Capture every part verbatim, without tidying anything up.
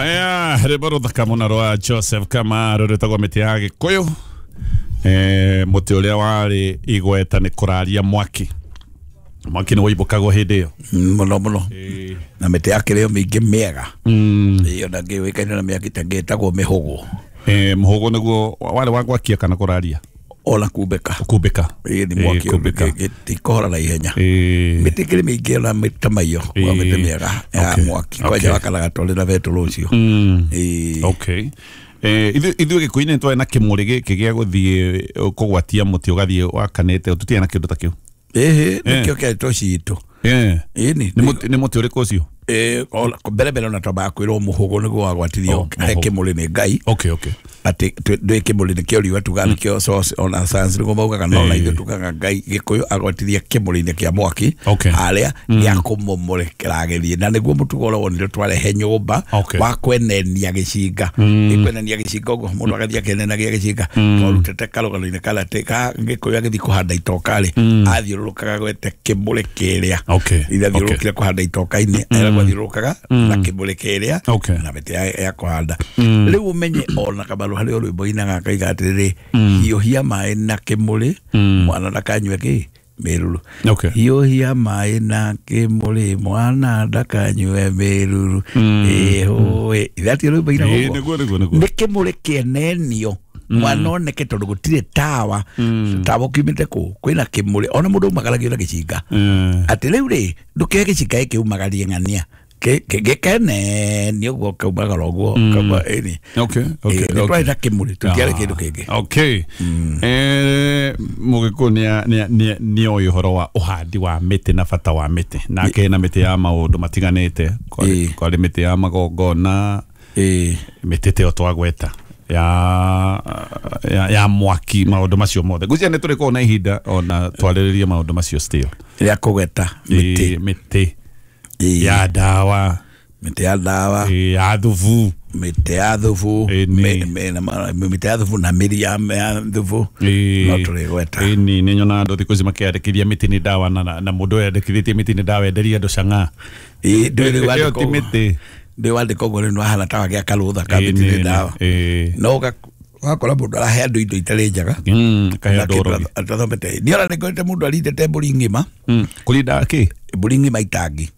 Aya, rwĩmbo rũthaka mũno rwa Joseph Kamaru rwĩtagwo mĩtĩ ya Gĩkũyũ. Eh, mũtĩ ũrĩa warĩ igweta nĩ kũraria mwaki. Mwaki nĩ waimbũkagwo hĩndĩ ĩyo. Mũno mũno. Na mĩtĩ yakĩrĩ o mĩingĩ mĩega. Ĩyo na ngĩũĩkaine na mĩaki ta ĩngĩ ĩtagwo mĩhũgũ. Eh, mũhũgũ nĩguo warĩ wa gwakia kana kũraria? Ona kumbĩka. Kumbĩka. Ĩĩ nĩ mwaki gĩtikũhora na ihenya. Mĩtĩ ĩkĩrĩ mĩingĩ ona mĩtĩ maiyo kwa mĩtĩ mĩega ya mwaki kwanja wakanaga tũrĩ na betũrũ ũcio. Okay. Eh, ithuĩ Gĩkũyũ-inĩ nĩ twarĩ na kĩmũrĩ gĩkĩ gĩa gũthiĩ kũgwatia mũtĩ ũgathiĩ wakanĩte, tũtiarĩ na kĩndũ ta kĩu. Ĩhĩ, nĩkĩo kĩarĩ citũ. Ĩni. Nĩ mũtĩ ũrĩkũ ũcio? Eh, mbere mbere ona twambaga kwĩrwo mũhũgũ nĩguo wagwatirio he kĩmũrĩ nĩ Ngai. Okay, okay. Atĩ ndwĩ kĩmũrĩ nĩkĩo riũa tugaga nĩkĩo source ona science nĩguo maugaga, no na ithuĩ tugaga Ngai Gĩkũyũ agwatirie kĩmũrĩ-inĩ kĩa mwaki harĩa gĩa kũmũmũrĩkĩra agĩthiĩ, na nĩguo mũtugo ũrĩa wonire twarehe nyũmba wa kwenenia gĩcinga. Kwenenia gĩcinga ũguo mũndũ agathiĩ akĩenenagia gĩcinga, twarutĩte karũgano-inĩ karĩa atĩ ka Gĩkũyũ agĩthiĩ kũhanda itoka rĩ, athiũrũrũkaga gwete kĩmũrĩ kĩrĩa. Ithe athiũrũrũkire kũhanda itoka-inĩ, eragwo athiũrũrũkaga na kĩmũrĩ kĩrĩa na mĩtĩ ya kũhanda. Rĩu ũmenye ona Kamaru harĩ o rwĩmbo ainaga akauga atĩrĩrĩ, hiũhia maĩ na kĩmũrĩ mwana ndakanyue kĩ mĩruru. Hiũhia maĩ na kĩmũrĩ mwana ndakanyue mĩruru. Ĩhũĩ ithatĩ rwĩmbo ainaga ũguo. Nĩ kĩmũrĩ kĩenenio mwana oneke tondũ gũtirĩ tawa, tawa ũkiumĩte kũ kwĩna kĩmũrĩ ona mũndũ aumagaragio na gĩcinga. Atĩ rĩu rĩ ndũkĩoe gĩcinga gĩkĩ umagarie ng'ania gĩkenenio ũguo kaumagara ũguo kauma ĩni. Okay, okay. Nĩ twarĩ na kĩmũrĩ tũtiarĩ kĩndũ kĩngĩ. Okay. Eh, Mũgĩkũyũ nĩ oĩ ũhoro wa ũhandi wa mĩtĩ na bata wa mĩtĩ, nake na mĩtĩ ya maũndũ matiganĩte. Kwarĩ mĩtĩ ya magongona, mĩtĩ ta ĩyo twagweta ya ya ya mwaki, maũndũ macio mothe. Ngwĩciria nĩ tũrĩkorwo na ihinda ona twarĩrĩrie maũndũ macio still. Rĩa kũgweta mĩtĩ. Mĩtĩ ya ndawa, mĩtĩ ya ndawa, ya thubu, mĩtĩ ya thubu, mĩtĩ ya thubu na mĩri ya thubu no tũrĩgweta. Ĩni nĩ nyonaga andũ thikũ ici makĩandĩkithia mĩtĩ nĩ ndawa, na mũndũ ũyũ andĩkithĩtie mĩtĩ nĩ ndawa enderia andũ chang'aa. Ĩĩ ndũĩ rĩu Ĩyo ti mĩtĩ. Ndĩ wandĩka ũguo rĩu nĩwahana ta wagĩa karũtha ka mĩtĩ nĩ ndawa. No ũgakora mũndũ arahe andũ indo itarĩ njega. Akahe andũ ũrogi. Atathomete. Niĩ ona nĩngorete mũndũ arindĩte mbũri ng'ima. Kũrinda kĩ? Mbũri ng'ima itangi.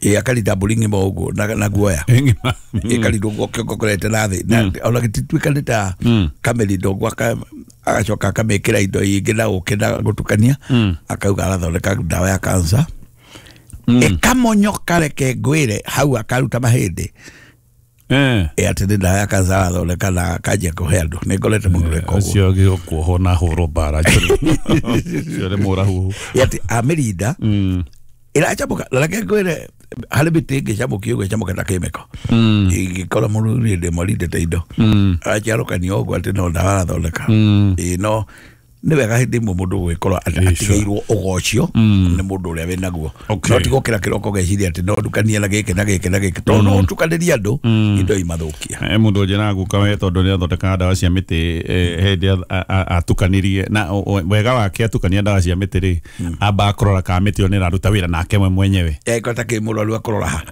Ĩĩ akarinda mbũri ng'ima ũguo na guoya. Ĩkarindwo ũguo kĩongo kũrete na thĩ. Ona gĩtituĩka nĩ ta kamĩrindo ũguo agacoka akamĩkĩra indo ingĩ na ũkĩ na gũtukania, akauga arathondeka ndawa ya cancer. Ĩkamonyoka reke ngwĩre hau akaruta mahĩndĩ. Ĩ atĩ nĩ ndawa ya cancer arathondeka na akanjia kũhe andũ. Nĩ ngorete mũndũ ũreka ũguo. Ũcio agĩkuohwo na ahũrwo mbara. Ũcio nĩ mũrahuhu. Ĩ atĩ amĩrinda ĩracamũka. Na reke ngwĩre harĩ mĩtĩ ĩngĩ ĩcamũkio ũguo ĩcamũke ta kĩmĩko. Ĩngĩkorwo mũndũ hĩndĩ ĩmwe arindĩte indo araciarũkania ũguo atĩ no ndawa arathondeka. Ĩ no nĩ wega hĩndĩ ĩmwe mũndũ gũgĩkorwo atigĩirwo ũgocio nĩ mũndũ ũrĩa wĩnaguo. No ti gũkĩra kĩroko ũgeciria atĩ no ndukanie na gĩkĩ na gĩkĩ na gĩkĩ, tondũ no ũtukanĩrie andũ indo imathũkia. Mũndũ ũnjĩraga guka we tondũ nĩ athondekaga ndawa cia mĩtĩ, hĩndĩ atukanirie na wega wake atukania ndawa cia mĩtĩ rĩ, amba akũrora kana mĩtĩ ĩyo nĩ ĩraruta wĩra nake we mwenyewe. Eko ta kĩ mũrwaru akũrora ha?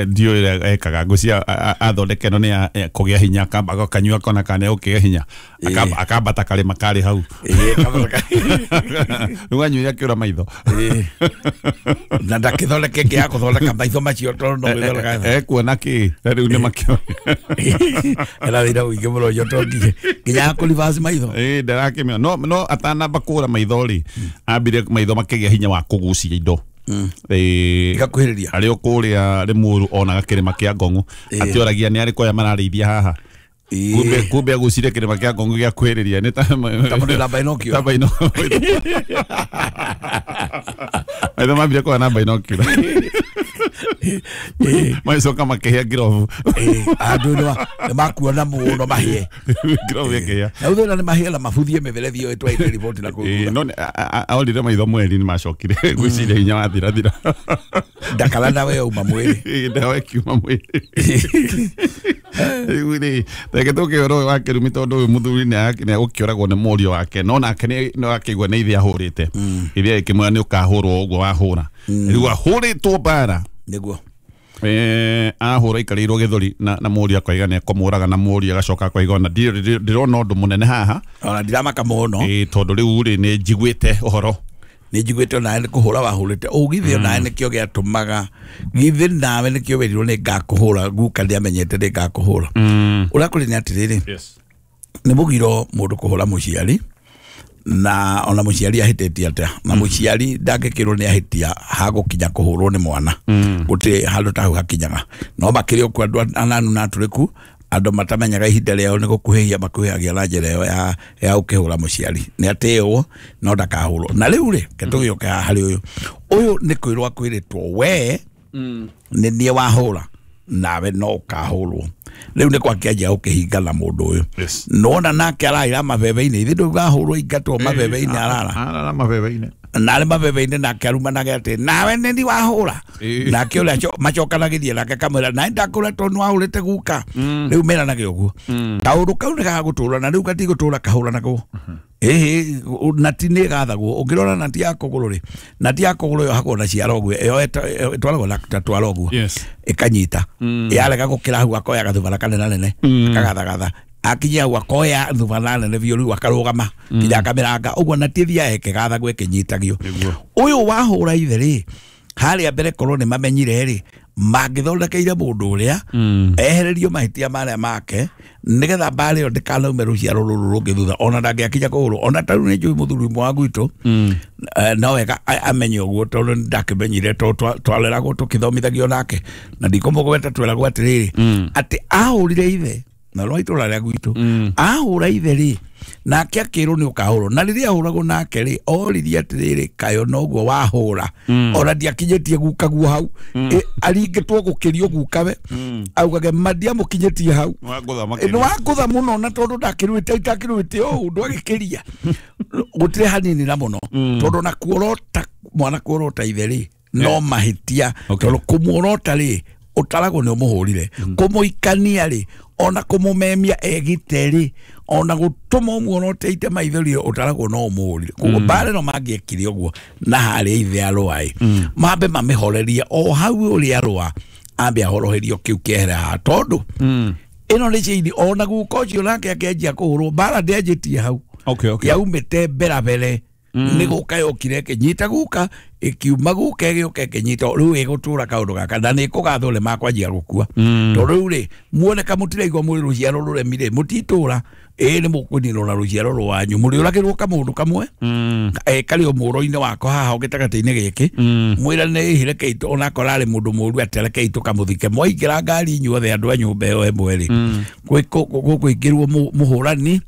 Ndiũĩ ũrĩa ekaga. Ngwĩciria athondeka ĩno nĩ ya kũgĩa hinya, akamba akanyua akona kana nĩ egũkĩgĩa hinya, akambata karĩma karĩ hau. Rĩu anyuire akĩũra maitho. Na ndakĩthondeke ĩngĩ ya kũthondeka maitho macio tondũ no gwĩthondeka. Ekuona kĩ? Rĩu nĩ makĩona. Ena wĩra mũingĩ mũno ũcio tondũ nginya ya kũ-reverse maitho. Ĩĩ ndarakĩmenya. No no atanamba kũra maitho rĩ, ambire maitho makĩgĩa hinya wa kũgucia indo. Igakuhĩrĩria. Arĩ o kũrĩa Rĩmuru onaga kĩrĩma kĩa Ngong'u, atĩoragia nĩ arĩkũ aya mararĩithia haha. Kumbe kumbe agucire kĩrĩma kĩa Ngong'u gĩa kuhĩrĩria nĩ ta mũndũ na binocular. Ta binocular. Maitho mambire kuona na binocular. Magĩcoka makĩhĩa ngirobu. Andũ nĩ makuona mũno mahĩe. Ngirobu ĩkĩhĩa. Na thutha nĩ mahĩe na mabuthie mĩberethi ĩyo ĩtwaite riboti na kũu. No aorire maitho mweri nĩ macokire ngwĩciria hinya wathirathira. Ndakara ndawa ĩyo uma mwĩrĩ. Ndawa ĩkiuma mwĩrĩ. Rĩu rĩ reke tũke ũhoro ũyũ wa kĩrumi tondũ ũyũ mũthuri nĩ egũkĩũragwo nĩ mũriũ wake, no nake no akĩigua nĩ ithe ahũrĩte. Ithe akĩmwĩra nĩ ũkahũrwo ũguo wahũra. Rĩu ahũrĩtwo mbara. Nĩguo. Eh ahura ikarĩirwo gĩthũri na na mũriũ akoiga nĩ ekũmũraga na mũriũ agacoka akoiga ona ndirona ũndũ mũnene haha ona ndiramaka mũno ĩ tondũ rĩu rĩ nĩ njiguĩte ũhoro nĩ njiguĩte onawe nĩ kũhũra wahũrĩte ũgithĩ onawe nĩkĩo gĩatũmaga githĩ nawe nĩkĩo wĩrirwo nĩ ngakũhũra guka ndiamenyete nĩ ngakũhũra ũrĩa kũrĩ nĩ atĩrĩrĩ yes nĩ mũgiro mũndũ kũhũra mũciari na ona mũciari ahĩtĩtie atĩa na mũciari ndangĩkĩrwo nĩ ahĩtia hagũkinya kũhũrwo nĩ mwana gũtirĩ handũ ta hau hakinyaga no makĩrĩ ũkuo andũ ananu na atũrĩku andũ matamenyaga ihinda rĩao nĩ gũkuhĩhia makuhĩhagia na njĩra ĩyo ya ya gũkĩhũra mũciari nĩ atĩĩwo no ndakahũrwo na rĩu rĩ ke tũgĩũke haha harĩ ũyũ ũyũ nĩ kwĩrwo akwĩrĩtwo we nĩ niĩ wahũra nawe no ũkahũrwo rĩu nĩ kwakĩanjia gũkĩhingana mũndũ ũyũ yes nona nake araira mabebe-inĩ ithe ndũgahũrwo ingatwo mabebe-inĩ arara arara mabebe-inĩ na arĩ mabebe-inĩ nake arumanage atĩ nawe nĩ ni wahũra nake ũrĩa macokanagĩria nake akamwĩra nawe ndakũra tondũ nĩ wahũrĩte guka rĩu meranage ũguo kaũndũ kau nĩ gagũtũra na rĩu gatigũtũra kahũranagwo ĩhĩ nati nĩ ĩgathagwo ũngĩrora nati ya kũgũrũ rĩ nati ya kũgũrũ yohagwo na ciara ũguo ĩyo ĩtwaragwo na ta twara ũguo ĩkanyita yarega gũkĩra hau akoya gathubana kanene akagathagaatha akinyia hau akoya thubana nene biũ rĩu akarũgama nginya akamĩranga ũguo nati ĩthiaga ĩkĩgathagwo ĩkĩnyitagio ũyũ wahũra ithe rĩ harĩa mbere korwo nĩ mamenyire rĩ mangĩthondekeire mũndũ ũrĩa ehererio mahĩtia marĩa make nĩgetha mbara ĩyo ndĩkanaume rũciaro rũrũ rũngĩ thutha ona ndangĩakinya kũhũrwo ona ta rĩu nĩ njũĩ mũthuri ũmwe wa gwitũ no wega amenye ũguo tondũ nĩ ndakĩmenyire tondũ twareragwo tũkĩthomithagio nake na ndikũmũgweta tweragwo atĩrĩrĩ atĩ ahũrire ithe na rwa itũra rĩa gwitũ ahũra ithe rĩ nake akĩrwo nĩ ũkahũrwo na rĩrĩa ahũragwo nake rĩ oririe atĩrĩrĩ kayo noguo wahũra ona ndiakinyĩtie gukaguo hau aringĩtwo gũkĩrio gukawe augage ma ndiamũkinyĩtie hau nĩ wangũtha mũno na tondũ ndakĩruĩte itakĩruĩte ũũ ndwagĩkĩria gũtirĩ hanini na mũno tondũ na kuorota mwana kuorota ithe rĩ no mahĩtia tondũ kũmuorota rĩ ũtaragwo nĩ ũmũhũrire kũmũikania rĩ ona kũmũmemia egite rĩ ona gũtũma ũmuonote ite maithori ũtaragwo no ũmũhũrire koguo mbara ĩno mangĩekire ũguo na harĩa ithe arũa ĩ mambe mamĩhorerie o hau ũrĩa arũa ambe ahoroherio kĩu kĩehere haha tondũ ĩno nĩ cĩini ona guka ũcio nake akĩanjia kũhũrwo mbara ndĩanjĩtie hau okay, okay. Yaumĩte mbere mbere nĩ gũka yokire ĩkĩnyita guka ĩkiuma guka ĩgĩũka ĩkĩnyita rĩu ĩgũtũra kaũndũ gaka na nĩ ĩkũgathwo nĩ makwanjia gũkua tondũ rĩu rĩ muoneka mũtiraigua mwĩ rũciaro rũremi rĩ mũtitũra ĩĩ nĩ mũkũninwo na rũciaro rwanyu mũrĩũragĩrwo kamũndũ kamwe karĩ o mũro-inĩ wako haha gĩtagatĩ-inĩ gĩkĩ mwĩrane ĩhĩ rekei onakorwo arĩ mũndũ mũru atĩ rekei tũkamũthike mwaingĩra ngari inyuothe andũ a nyũmba ĩyo ĩmwe rĩ gũkũingĩrwo mũhũrani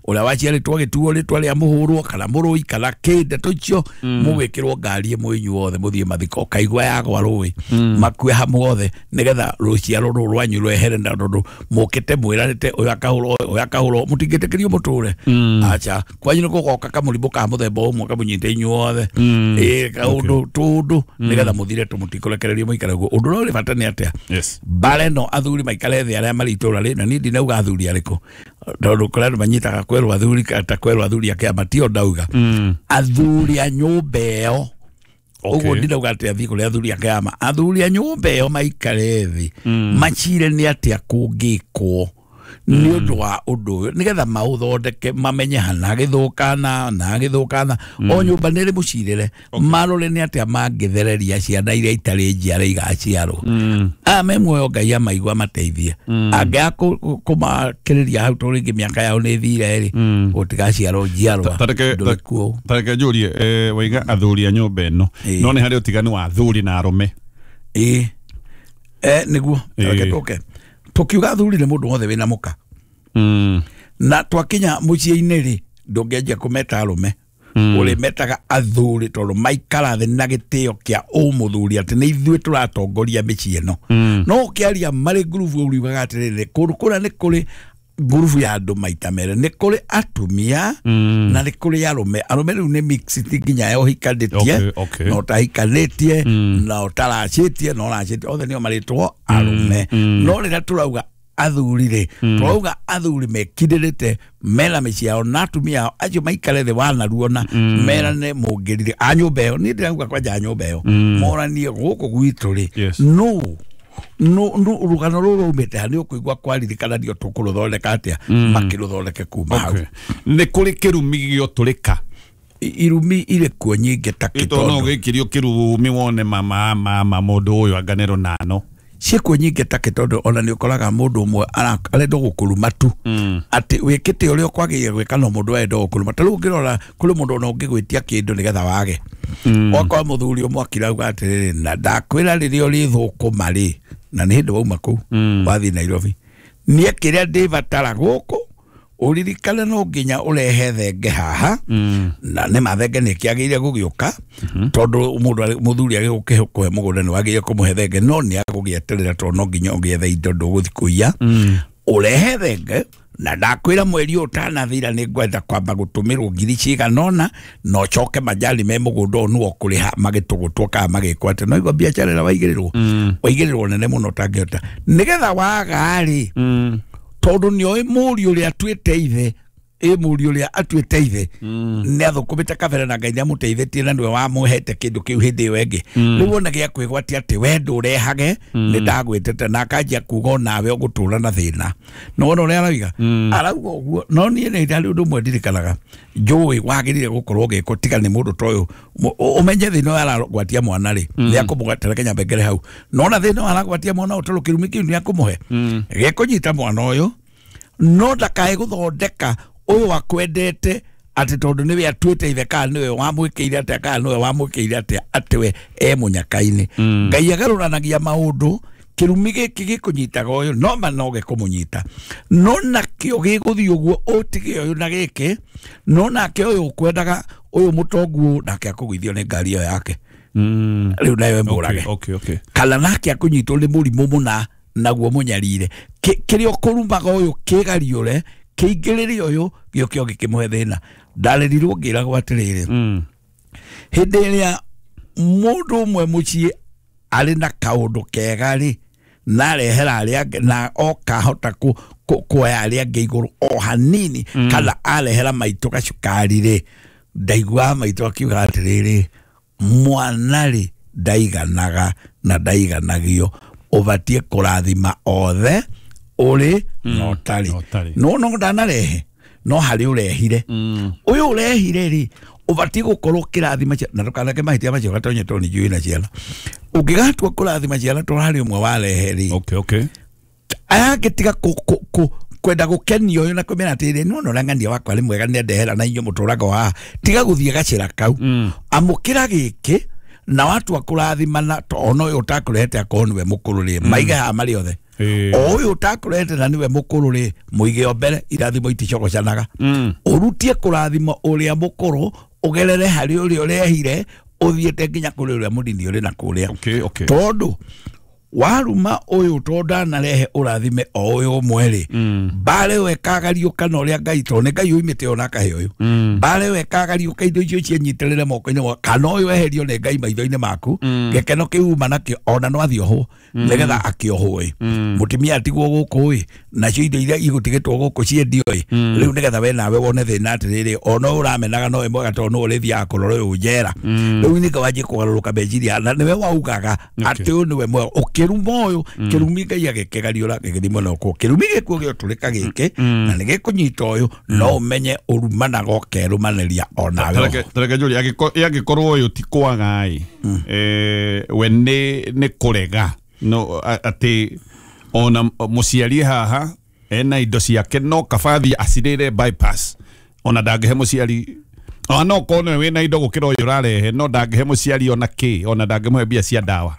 ũrĩa waciarĩtwo agĩtuo rĩtwa rĩa mũhũrwo kana mũrũi kana kĩ ndeto icio mũgwĩkĩrwo ngari ĩmwe inyuothe mũthiĩ mathiko ũkaigua yagwa rũĩ makue hamwe othe nĩgetha rũciaro rũrũ rwanyu rwehere na tondũ mũkĩte mwĩranĩte ũyũ akahũrwo ũyũ akahũrwo mũtingĩtĩkĩrio mũtũre acha kwanyu nĩ gũgoka kamũrimũ ka mũthemba ũmwe kamũnyite inyuothe ĩ kaũndũ tũndũ nĩgetha mũthire tũmũtikũrekererio mũikare ũguo ũndũ ũrĩa ũrĩ bata nĩ atĩa mbara ĩno athuri maikare thĩ arĩa marĩ itũra rĩ na niĩ ndinauga athuri arĩkũ tondũ kũrĩ andũ manyitaga kwerwo athuri ta kwerwo athuri a kĩama tio ndauga athuri a nyũmba ĩyo ũguo ndinauga atĩ athiĩ kũrĩ athuri a kĩama athuri a nyũmba ĩyo maikare thĩ macire nĩ atĩa kũngĩkwo nĩ ũndũ wa ũndũ ũyũ nĩgetha maũthondeke mamenye hana gĩthũkana na gĩthũkana o nyũmba nĩ ĩrĩ mũcirĩre marore nĩ atĩa mangĩthereria ciana iria itarĩ njiare igaciarwo aya me muoyo Ngai amaigua amateithie angĩaga kũmakĩrĩria hau tondũ rĩngĩ mĩaka yao nĩ ĩthire rĩ gũtigaciarwo njiarwa ndũrĩ kuo tareke njũrie waiga athuri a nyũmba ĩno no nĩ harĩ ũtiganu wa athuri na arũme ĩĩ nĩguo tareke tũke tukiuga athuri nĩ mũndũ wothe wĩna mũka na twakinya mũciĩ-inĩ rĩ ndũngĩanjia kũmeta arũme ũrĩmetaga athuri tondũ maikara thĩ na gĩtĩo kĩa ũmũthuri atĩ nĩ ithuĩ tũratongoria mĩciĩ ĩno no ũkĩaria marĩ ngurubu ũriugaga atĩrĩrĩ kũndũ kũrĩa nĩ kũrĩ ngurubu ya andũ maita merĩ nĩ kũrĩ atumia na nĩ kũrĩ arũme arũme rĩu nĩ mix ti nginya ya ũhikanĩtie na ũtahikanĩtie na ũtaracĩtie na ũracĩtie othe nĩo marĩtwo arũme no rĩrĩa tũrauga athuri rĩ tũrauga athuri mekindĩrĩte mena mĩciĩ yao na atumia ao acio maikare thĩ wanaruona merane mũngĩrire a nyũmba ĩyo niĩ ndĩrauga kwanja a nyũmba ĩyo moranie gũkũ gwitũ rĩ nũ no no rugano ruru rumite ha ni ukuigua kwaririkana ndio tukuruthondeka atia makiruthondeke kuma hau. Ni kuri kirumi gioturika irumi ire kuo nyingi ta kitondo no gikirio kirumi wone mama mama mundu uyu anganero nano ciekuo nyingi ta kitondo ona ni ukoraga mundu umwe arenda gukuruma tu ati wikite uria ukwagiire gwika no mundu arenda gukuruma ta riu ngirora kuri mundu ona ungigwitia kindu nigetha wage wakwa muthuri umwe akirauga atiriri na ndakwira riria uri thukuma ri na ni hindi wauma kuu wathii Nairobi nie kiria ndibatara guku uririkane no nginya urehe thenge haha na ni mathenge ni kiagire gugiuka tondu mundu muthuri agigukuhe mugunda ni wagire kumuhe thenge no ni agugieterera tondu no nginya ugiethe indo nduguthi kuiya urehe thenge na ndakwira mweri utanathira ni ngwenda kwamba gutumirwo ngiri cigana ona no coke majani me mugunda ũyũ nĩwe ũkũrĩha magĩtũgũtwo kana magĩkwo atĩ no igua biacara ĩrĩa waigĩrĩrwo waigĩrĩrwo nene mũno ũtangĩhota nĩgetha waga rĩ tondu nioĩ mũriũ ũrĩa atuĩte ithe ĩ mũriũ ũrĩa atuĩte ithe nĩ athũkũmĩte kabere na Ngai nĩamũteithĩtie na nĩwe wamũhete kĩndũ kĩu hĩndĩ ĩyo ĩngĩ rĩu wona gĩa kwĩgwatia atĩ we ndũrehage nĩ ndagwĩtĩte na akanjia kuga onawe ũgũtũra na thĩna no wona ũrĩa arauga arauga ũguo no niĩ nĩ harĩ ũndũ ũmwe ndirikanaga njũĩ wagĩrĩire gũkorwo ũgĩkwo tiga nĩ mũndũ ta ũyũ ũmenye thĩna ũyũ aragwatia mwana rĩ nĩ akũmũgwatĩra reke nyambe ngere hau nona thĩna ũyũ aragwatia mwana ũyũ tondũ kĩrumi kĩu nĩ akũmũhe gĩkũnyita mwana ũyũ no ndakae gũthondeka ũyũ akwendete atĩ tondũ nĩwe atuĩte ithe kana nĩwe wamwĩkĩire atĩa kana nĩwe wamwĩkĩire atĩa atĩ we e mũnyaka-inĩ. Ngai agarũranagia maũndũ kĩrumi gĩkĩ gĩkũnyitaga ũyũ no ma no gĩkũmũnyita no nakĩo gĩgũthiĩ ũguo ũtige ũyũ na gĩkĩ no nake ũyũ ũkwendaga ũyũ mũtongu nake akũgũithio nĩ ngari ĩyo yake rĩu nayo ĩmũrage kana nake akũnyitwo nĩ mũrimũ mũna naguo mũnyarire kĩrĩa ũkũrumaga ũyũ kĩgariũre kĩingĩrĩre ũyũ gĩũke gĩkĩmũhe thĩna ndarerirwo ngĩragwo atĩrĩrĩ hĩndĩ ĩrĩa mũndũ ũmwe mũciĩ arĩ na kaũndũ kega rĩ na arehera arĩa angĩ na okahota kuoya arĩa angĩ igũrũ o hanini kana arehera maitũ gacukari rĩ ndaiguaga maitũ akiuga atĩrĩrĩ mwana rĩ ndaiganaga na ndaiganagio ũbatiĩ kũrathima othe ũrĩ na ũtarĩ no no ndanarehe no harĩ ũrehire ũyũ ũrehire rĩ ũbatiĩ gũkorwo ũkĩrathima na ndũkaneke mahĩtia macio gatonye tondũ nĩ njũĩ na ciana ũngĩgatua kũrathima ciana tondũ harĩ ũmwe warehe rĩ okay okay aya angĩtiga kwenda gũkenio ũyũ na kũmera atĩrĩrĩ nĩwona ũrĩa ng'ania wakwa nĩ mwega nĩandehera na inyuĩ mũtũraga haha tiga gũthiĩ gacĩra kau amũkĩra gĩkĩ na watua kũrathimana ona ũyũ ũtakũrehete akorwo nĩwe mũkũrũ rĩ maige haha marĩ othe o ũyũ ũtakũrehete na nĩwe mũkũrũ rĩ mũige o mbere irathimo iticogocanaga ũrutie kũrathima ũrĩa mũkũrũ ũgerere harĩ ũrĩa ũrehire ũthiĩte nginya kũrĩ ũrĩa mũnini ũrĩ na kũrĩa tondũ waruma ũyũ tondũ ndanarehe ũrathime o ũyũ ũmwe rĩ mbara ĩyo ĩkagariũka na ũrĩa Ngai tondũ nĩ Ngai ũimĩte ona akahe ũyũ mbara ĩyo ĩkagariũka indo icio cienyitarĩre moko-inĩ kana ũyũ eherio nĩ Ngai maitho-inĩ maku gĩkeno kĩu uma nakĩo ona no athiĩ ohwo nĩgetha akĩohwo ĩ mũtumia atigwo gũkũ ĩ nacio indo iria igũtigĩtwo gũkũ ciendio ĩ rĩu nĩgetha we nawe wone thĩna atĩrĩrĩ ona ũyũ ũramenaga no wĩ mwega tondũ nĩwe ũrĩthiaga kũrora ũyũ njera rĩu nĩka wanjie kũgarũrũka meciria na nĩwe waugaga atĩ ũyũ nĩwe mwega ũkĩruma ũyũ kĩrumi Ngai agĩkĩgariũra gĩgĩthiĩ mwena ũkũ kĩrumi gĩkuo gĩotũrĩka gĩkĩ na nĩgĩkũnyita ũyũ no ũmenye ũrumanaga ũkerũmanĩria onawe tareke njũrie angĩkorwo ũyũ ti kwaga ĩ we nĩ nĩ kũrega no atĩ ona mũciari haha ena indo ciake no kabathi acirĩre bypass ona ndangĩhe mũciari ona no korwo nĩwe wĩna indo gũkĩra ũyũ ũrarehe no ndangĩhe mũciari ona kĩ ona ndangĩmũhe mbia cia ndawa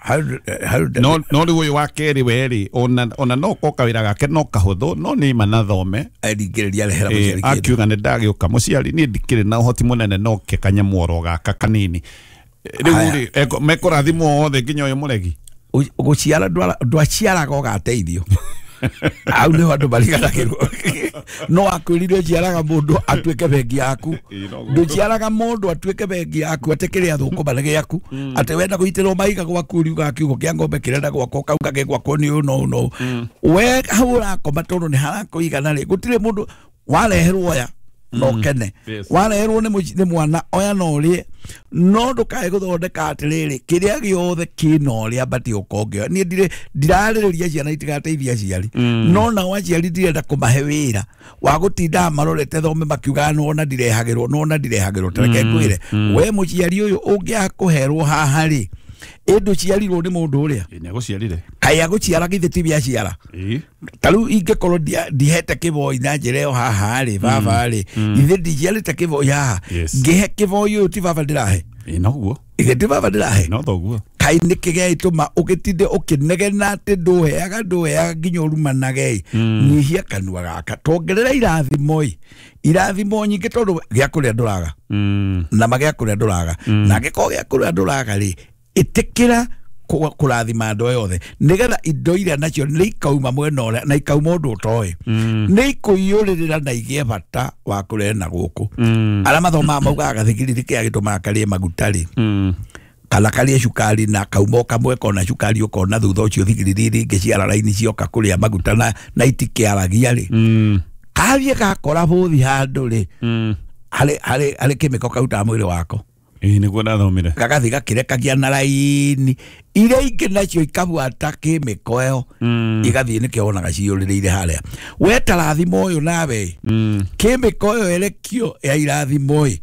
no no rĩu ũyũ wa kerĩ we rĩ ona ona no korwo kawĩra gake no kahũthũ no nĩ ma nathome aringĩrĩria arehera mũciari kĩndũ akiuga nĩ ndagĩũka mũciari niĩ ndikĩrĩ na ũhoti mũnene no ke kanyamũ oro gaka kanini rĩu rĩ mekũrathimwo othe nginya ũyũ mũregi gũciara ndwaciaraga ũgateithio au nĩho andũ mariganagĩrwo no akwĩrire ũciaraga mũndũ atuĩke bengi yaku ndũciaraga mũndũ atuĩke bengi yaku atĩ kĩrĩa thũkũma nĩ gĩaku atĩ wenda kũnyitĩrwo mahiga gwaku ũriugaga kiugo kĩa ng'ombe kĩrenda gwakwo kauga gĩ gwakwo nĩ ũũ na ũũ na ũũ we hau ũrakoma tondũ nĩ harakũigana rĩ gũtirĩ mũndũ wareherwo aya na ũkene. Wareherwo nĩ mwana oya na ũrĩe, no ndũkae gũthondeka atĩrĩrĩ kĩrĩa gĩothe kĩna ũrĩa batiĩ gũkorwo. Niĩ ndirĩ ndirarĩrĩria ciana itigateithie aciari, no nao aciari ndirenda kũmahe wĩra wa gũtinda marorete thome makiugaga nĩwona ndirehagĩrwo, nĩwona ndirehagĩrwo. Ta reke ngwĩre, we mũciari ũyũ ũngĩaga kũherwo haha rĩ, ĩ ndũciarirwo nĩ mũndũ ũrĩa nĩagũciarire, kaĩ agũciara githĩ ti biaciara. Ta rĩu ingĩkorwo ndihete kĩboi na njĩra ĩyo haha rĩ, baba rĩ, ithe ndiciarĩte kĩboi haha, ngĩhe kĩboi ũyũ ti baba ndĩrahe, noguo, ithe ti baba ndĩrahe, no thoguo. Kaĩ nĩkĩ gĩagĩtũma ũgĩtinde ũkĩnegena atĩ ndũheaga ndũheaga nginya ũrumanage? Nyihia kanua gaka, tuongerera irathimo ĩ, irathimo nyingĩ tondũ gĩa kũrĩa ndũraga, na ma gĩa kũrĩa ndũraga, na angĩkorwo gĩa kũrĩa ndũraga rĩ, ĩtĩkĩra kũrathima andũ othe nĩgetha indo iria nacio nĩ ikauma mwena ũrĩa na ikauma ũndũ ũtoĩ, nĩ ikũiyũrĩrĩra na igĩe bata wa kũrehe na gũkũ. Arĩa mathomaga maugaga gathigiriri kĩrĩa gĩtũmaga karĩe maguta rĩ, kana karĩe cukari na kauma o kamwe kona cukari ũkona thutha ũcio thigiriri iria ingĩ ciara raini cioka kũrĩa maguta na, na itikĩaragia rĩ, kathiĩ gakora bũthi handũ rĩ, harĩ harĩ harĩ kĩmĩko karutaga mwĩrĩ wako. Ĩĩ nĩguo ndathomire. Gagathi gakĩrekagia na raini iria ingĩ nacio ikabuata kĩmĩko ĩyo igathiĩ, nĩkĩo wonaga ciyũrĩrĩire harĩa. We tarathimo ũyũ nawe kĩmĩko ĩyo ĩrekio ya irathimo ĩ,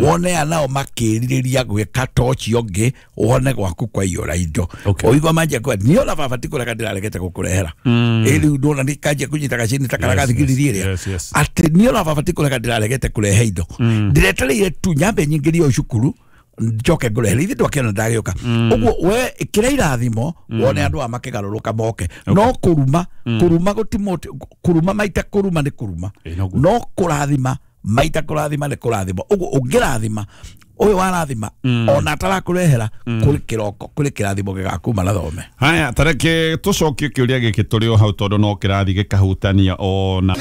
wone anao makĩrirĩria gwĩka ta ũcio ũngĩ, wone gwaku kwaiyũra indo. Ũigua manjia kuga niĩ ona baba ti kũrega ndĩraregete gũkũrehera, ĩ rĩu ndona nĩ kanjia kũnyita gacini ta karĩa gathigiriri ĩrĩa, atĩ niĩ ona baba ti kũrega ndĩraregete kũrehe indo, ndĩretereire tu nyambe nyingĩrie o cukuru njoke ngũrehere, ithe ndwakĩona ndagĩũka. Ũguo we ĩkĩra irathimo wone andũ aya makĩgarũrũka moke. No kũruma, kũruma gũtimũ, kũruma maita kũruma nĩ kũruma, no kũrathima maita kũrathima nĩ kũrathima. Ũguo ũngĩrathima ũyũ warathima ona atarakũrehera, kũrĩ kĩroko kũrĩ kĩrathimo gĩgakuma na thome. Haya, tareke tũcokie kĩũria gĩkĩ tũrĩ o hau tondũ no kĩrathi gĩkahutania ona